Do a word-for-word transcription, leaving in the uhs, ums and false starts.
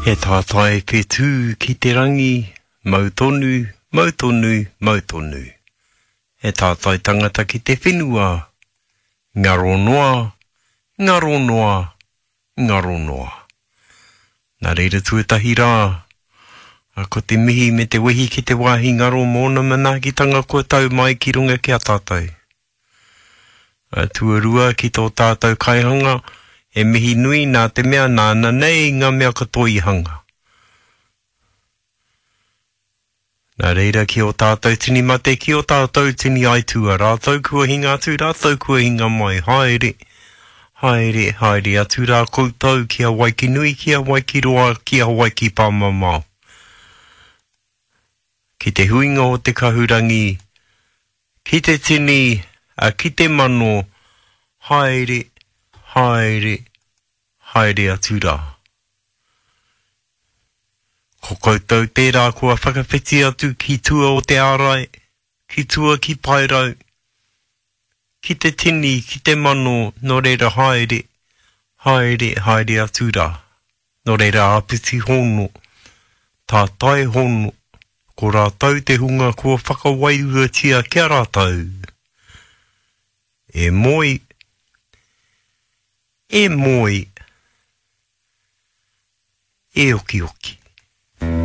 He tātai whetū ki te rangi, mau tonu, mau tonu, mau tonu. He tātai tangata ki te whenua, ngaro noa, ngaro noa, ngaro noa. Nā reira tuatahi rā, ko te mihi me te wehi ki te wāhi ngaro mōna manaakitanga kua tau mai ki runga ki a tātou. Tuarua ki tō tātou kaihanga, he mihi nui nā te mea nāna nei ngā mea katoa i hanga. Nā reira ki o tātou tini mate, ki o tātou tini aitua, rātou kua hinga atu, rātou kua hinga mai, haere, haere, haere atu rā koutou ki a Waikinui, ki a Waikiroa, ki a Waikipāmamao. Ki te huinga o te kahurangi, ki te tini, a ki te mano, haere, haere, haere atu rā. Ko koutou tērā kua whakawhiti atu ki tua o te ārai, ki tua ki Paerau, ki te tini, ki te mano, nō reira haere, haere, haere atu rā. Nō reira āpiti hono, tātai hono, ko rātou te hunga kua whakawairuatia ki a rātou. E moe, e moe, e okioki.